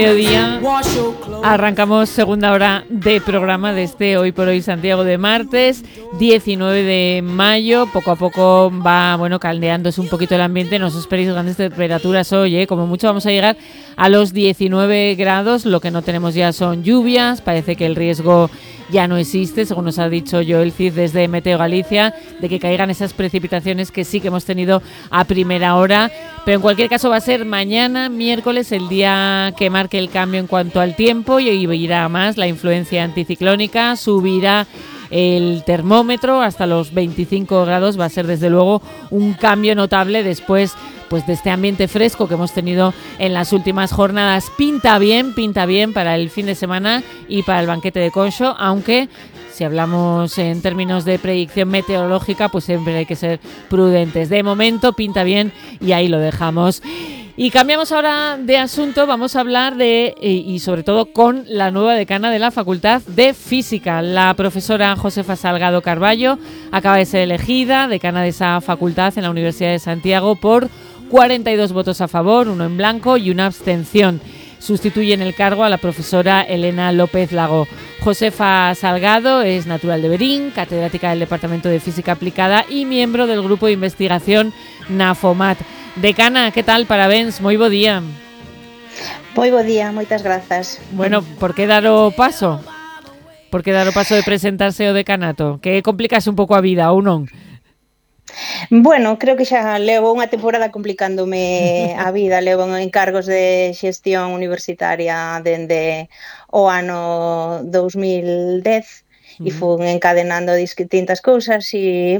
Mediodía, arrancamos segunda hora de programa de este Hoy por Hoy Santiago de martes 19 de mayo. Poco a poco va, caldeándose un poquito el ambiente. No os esperéis grandes temperaturas hoy, como mucho vamos a llegar a los 19 grados. Lo que no tenemos ya son lluvias. Parece que el riesgo ya no existe, según nos ha dicho Joel Cid desde Meteo Galicia, de que caigan esas precipitaciones que sí que hemos tenido a primera hora. Pero en cualquier caso va a ser mañana, miércoles, el día que marque el cambio en cuanto al tiempo, y irá más la influencia anticiclónica, subirá el termómetro hasta los 25 grados. Va a ser desde luego un cambio notable después de este ambiente fresco que hemos tenido en las últimas jornadas. Pinta bien para el fin de semana y para el banquete de Conxo, aunque si hablamos en términos de predicción meteorológica, pues siempre hay que ser prudentes. De momento pinta bien y ahí lo dejamos. Y cambiamos ahora de asunto, vamos a hablar y sobre todo con la nueva decana de la Facultad de Física. La profesora Josefa Salgado Carballo acaba de ser elegida decana de esa facultad en la Universidad de Santiago por 42 votos a favor, 1 en blanco y una abstención. Sustituye en el cargo a la profesora Elena López Lago. Josefa Salgado es natural de Berín, catedrática del Departamento de Física Aplicada y miembro del grupo de investigación NAFOMAT. Decana, que tal? Parabéns, moi bo día. Moi bo día, moitas grazas. Bueno, por que dar o paso? Por que dar o paso de presentarse ao decanato? Que complicase un pouco a vida, ou non? Bueno, creo que xa levo unha temporada complicándome a vida. Levo encargos de xestión universitaria dende o ano 2010 e fun encadenando distintas cousas e,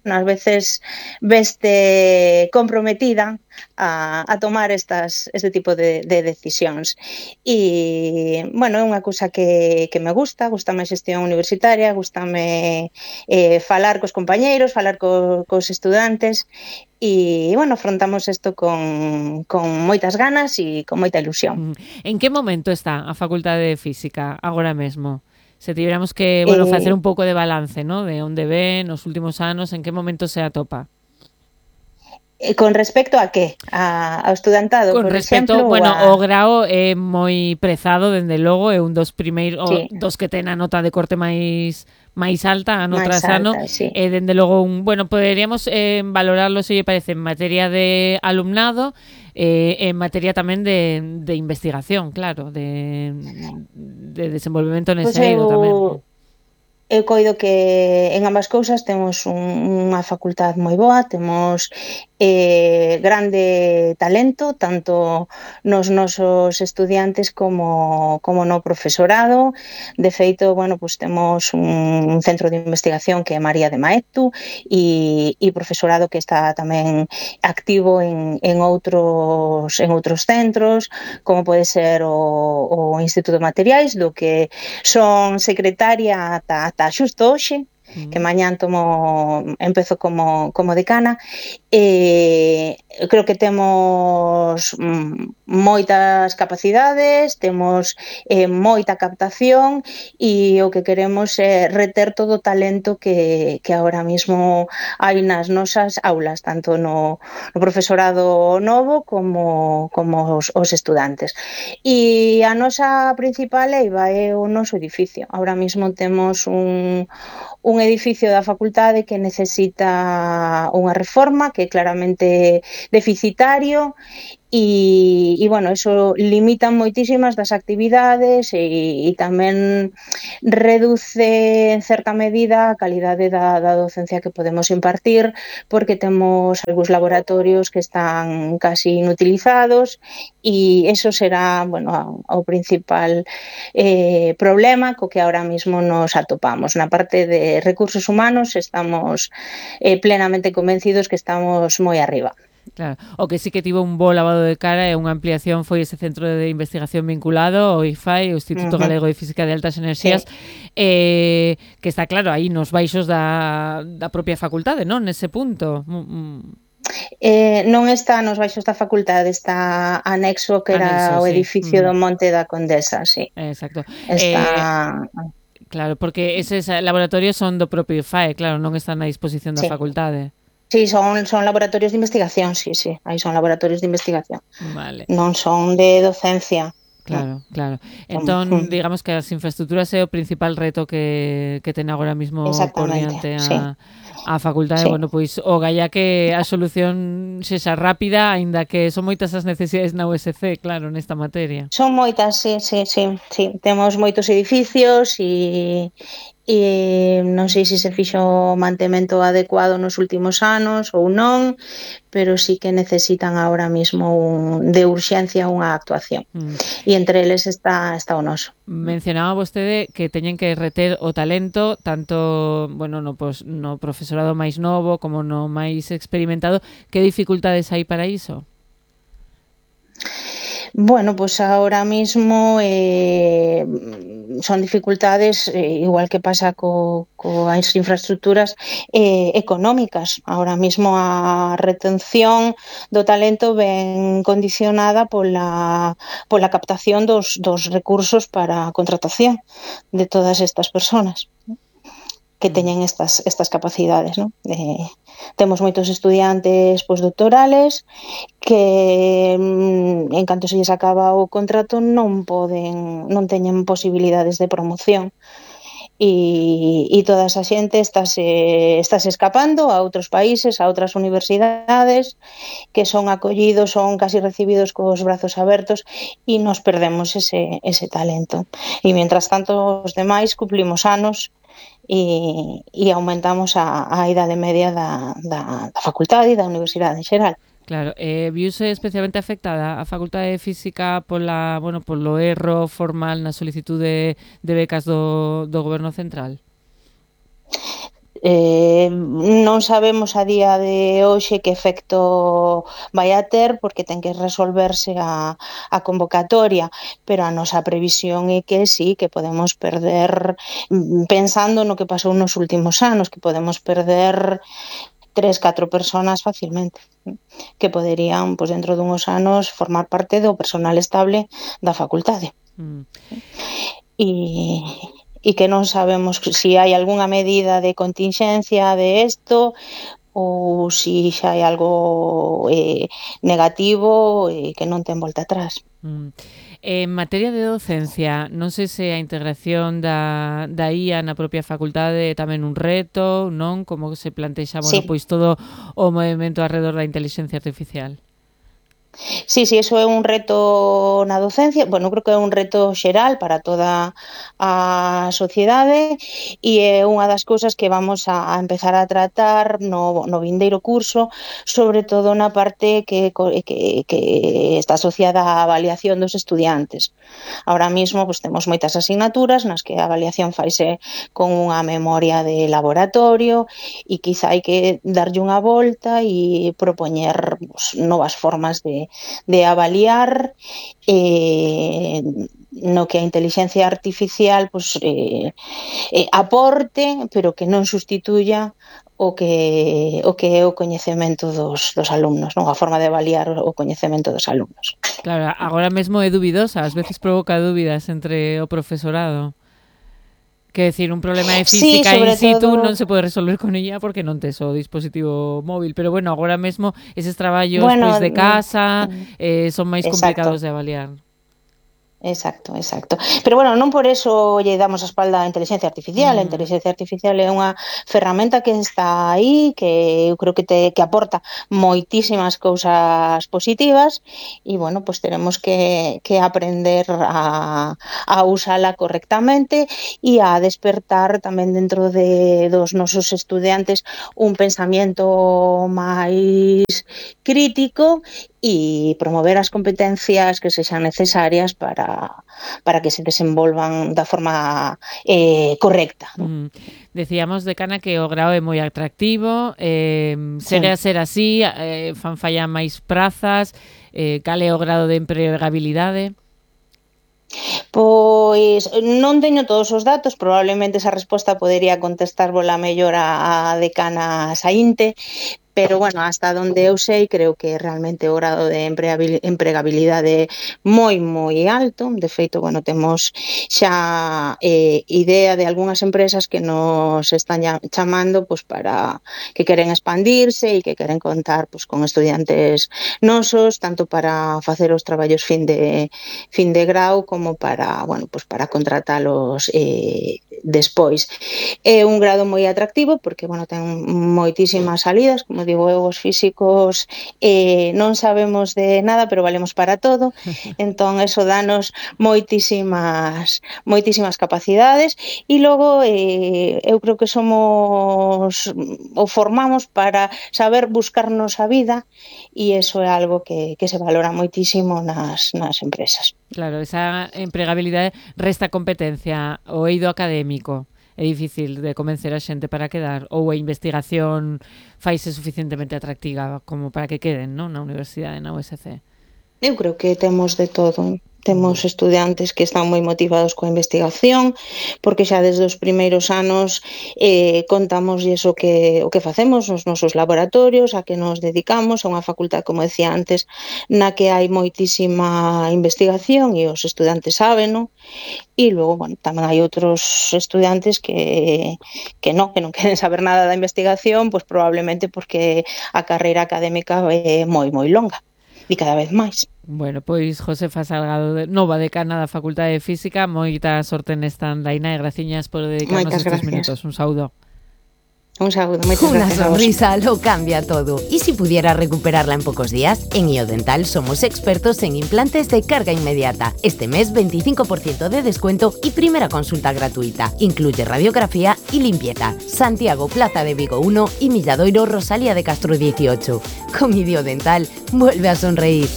ás veces veste comprometida a tomar este tipo de decisións. E, é unha cousa que me gusta a xestión universitaria, gustame falar cos compañeiros, falar cos estudantes e, afrontamos isto con moitas ganas e con moita ilusión. En que momento está a Facultade de Física agora mesmo? Se tiveramos que, facer un pouco de balance, ¿no? De onde ven nos últimos anos, en que momento se atopa? Con respecto a que? Ao estudantado, con por respecto, exemplo? O grao é moi prezado, dende logo, é un dos primeiros, sí, dos que ten a nota de corte máis alta, ano tras ano, sí. Dende logo poderíamos valorarlo, se lle parece, en materia de alumnado, en materia tamén de investigación, claro, de desenvolvemento nese eido tamén. Eu coido que en ambas cousas temos unha facultad moi boa, temos grande talento, tanto nos nosos estudiantes como no profesorado. De feito, temos un centro de investigación que é María de Maeztu e profesorado que está tamén activo en outros centros, como pode ser o Instituto de Materiais, do que son secretaria ata xusto hoxe, que mañán empezo como decana. Creo que temos moitas capacidades, temos moita captación e o que queremos é reter todo o talento que agora mesmo hai nas nosas aulas, tanto no profesorado novo como os estudantes. E a nosa principal eiva é o noso edificio. Agora mesmo temos un edificio da facultade que necesita unha reforma, que é claramente deficitario e eso limita moitísimas das actividades e tamén reduce en certa medida a calidade da docencia que podemos impartir, porque temos algúns laboratorios que están casi inutilizados e eso será o principal problema co que ahora mismo nos atopamos. Na parte de recursos humanos estamos plenamente convencidos que estamos moi arriba. Claro, o que sí que tivo un bo lavado de cara e unha ampliación foi ese centro de investigación vinculado, o IFAI, o Instituto Galego de Física de Altas Enerxías, que está claro aí nos baixos da propia facultade, non? Nese punto. Non está nos baixos da facultade, está anexo, que era o edificio do Monte da Condesa, sí. Exacto. Está... Claro, porque eses laboratorios son do propio IFAE, claro, non están a disposición da facultade. Sí, son laboratorios de investigación, sí, aí son laboratorios de investigación. Vale. Non son de docencia. Claro, claro. Entón, digamos que as infraestructuras é o principal reto que ten agora mesmo por diante sí. a facultade. Sí. Bueno, pois o galla que a solución sexa rápida, aínda que son moitas as necesidades na USC, claro, nesta materia. Son moitas, sí. Temos moitos edificios e non sei se se fixo o mantemento adecuado nos últimos anos ou non, pero sí que necesitan ahora mismo de urxencia unha actuación. E entre eles está o noso. Mencionaba vostede que teñen que reter o talento tanto, bueno, no profesorado máis novo como no máis experimentado. Que dificultades hai para iso? Bueno, pues ahora mismo son dificultades, igual que pasa coas infraestructuras económicas. Ahora mismo a retención do talento ven condicionada pola captación dos recursos para a contratación de todas estas personas que teñen estas capacidades, ¿no? Temos moitos estudiantes postdoctorales que en canto se lles acaba o contrato non teñen posibilidades de promoción e toda esa xente estáse escapando a outros países, a outras universidades que son acollidos, son casi recibidos cos brazos abertos e nos perdemos ese talento. E mientras tanto os demais cumplimos anos e aumentamos a idade media da facultade e da universidade en xeral. Claro, viuse especialmente afectada a Facultade de Física polo erro formal na solicitude de becas do Goberno Central? Non sabemos a día de hoxe que efecto vai a ter porque ten que resolverse a convocatoria, pero a nosa previsión é que sí, que podemos perder, pensando no que pasou nos últimos anos, que podemos perder 3-4 personas facilmente que poderían, pois, dentro dunhos anos formar parte do personal estable da facultade. E que non sabemos se hai algunha medida de contingencia de isto ou se xa hai algo negativo que non ten volta atrás. En materia de docencia, non sei se a integración da IA na propia facultade é tamén un reto, non? Como se plantexa, pois todo o movimento alrededor da intelixencia artificial? Sí, eso é un reto na docencia, bueno, creo que é un reto xeral para toda a sociedade e é unha das cousas que vamos a empezar a tratar no vindeiro curso, sobre todo na parte que está asociada á avaliación dos estudiantes. Ahora mismo pues, temos moitas asignaturas nas que a avaliación faise con unha memoria de laboratorio e quizá hai que darlle unha volta e propoñer novas formas de avaliar no que a intelixencia artificial aporte, pero que non sustituya o que é o coñecemento dos alumnos, non? A forma de avaliar o coñecemento dos alumnos. Claro, agora mesmo é dubidosa, ás veces provoca dúbidas entre o profesorado. Que decir, un problema de física in situ non se pode resolver con ella porque non tes o dispositivo móvil, pero bueno, agora mesmo eses traballos pois de casa son máis complicados de avaliar. Exacto. Pero bueno, non por eso lle damos a espalda a inteligencia artificial. A inteligencia artificial é unha ferramenta que está aí, que eu creo que aporta moitísimas cousas positivas e, bueno, pues teremos que aprender a usala correctamente e a despertar tamén dentro dos nosos estudiantes un pensamento máis crítico e promover as competencias que sexan necesarias para que se desenvolvan da forma correcta. Decíamos, decana, que o grao é moi atractivo, segue a ser así, fan falla máis prazas, cal é o grado de empregabilidade? Pois non teño todos os datos, probablemente esa resposta podería contestar vola mellor a decana saínte, pero bueno, hasta donde eu sei, creo que realmente o grado de empregabilidade é moi alto. De feito, bueno, temos xa idea de algunhas empresas que nos están chamando pues, para que queren expandirse e que queren contar pues, con estudiantes nosos, tanto para facer os traballos fin de grau como para, bueno, pues para contratalos despois. É un grado moi atractivo porque, bueno, ten moitísimas salidas, como digo eu, os físicos non sabemos de nada, pero valemos para todo, entón eso danos moitísimas capacidades e logo eu creo que somos ou formamos para saber buscarnos a vida e eso é algo que se valora moitísimo nas empresas. Claro, esa empregabilidade resta competencia o eido académico. É difícil de convencer a xente para quedar, ou a investigación faise suficientemente atractiva como para que queden, non, na universidade, na USC? Eu creo que temos de todo. Temos estudantes que están moi motivados coa investigación, porque xa desde os primeiros anos contamos o que facemos nos nosos laboratorios, a que nos dedicamos, a unha facultad, como decía antes, na que hai moitísima investigación e os estudantes sábeno, e logo, bueno, tamén hai outros estudantes que non queren saber nada da investigación, pois probablemente porque a carreira académica é moi longa. E cada vez máis. Bueno, pois Josefa Salgado, nova decana da Facultade de Física, moita sorte nesta andaina e graciñas por dedicarnos estes minutos. Un saúdo. Un saludo, muchas gracias. Una sonrisa lo cambia todo. Y si pudiera recuperarla en pocos días, en IODental somos expertos en implantes de carga inmediata. Este mes 25% de descuento y primera consulta gratuita. Incluye radiografía y limpieza. Santiago, Plaza de Vigo 1 y Milladoiro, Rosalía de Castro 18. Con IODental, vuelve a sonreír.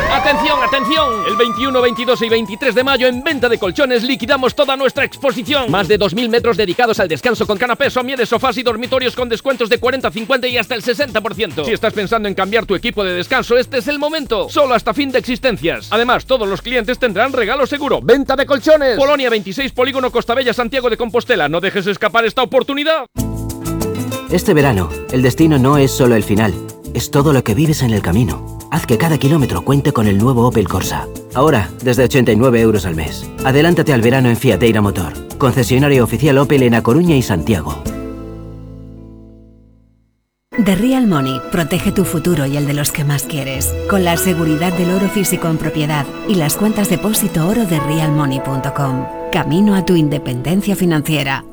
¡Atención, atención! El 21, 22 y 23 de mayo en Venta de Colchones liquidamos toda nuestra exposición. Más de 2.000 metros dedicados al descanso con canapés, somieres, sofás y dormitorios con descuentos de 40, 50 y hasta el 60%. Si estás pensando en cambiar tu equipo de descanso, este es el momento. Solo hasta fin de existencias. Además, todos los clientes tendrán regalo seguro. Venta de Colchones. Polonia 26, Polígono Costabella, Santiago de Compostela. No dejes escapar esta oportunidad. Este verano, el destino no es solo el final. Es todo lo que vives en el camino. Haz que cada kilómetro cuente con el nuevo Opel Corsa. Ahora, desde 89 € al mes. Adelántate al verano en Fiateira Motor. Concesionario oficial Opel en A Coruña y Santiago. The Real Money protege tu futuro y el de los que más quieres. Con la seguridad del oro físico en propiedad y las cuentas depósito oro de realmoney.com. Camino a tu independencia financiera.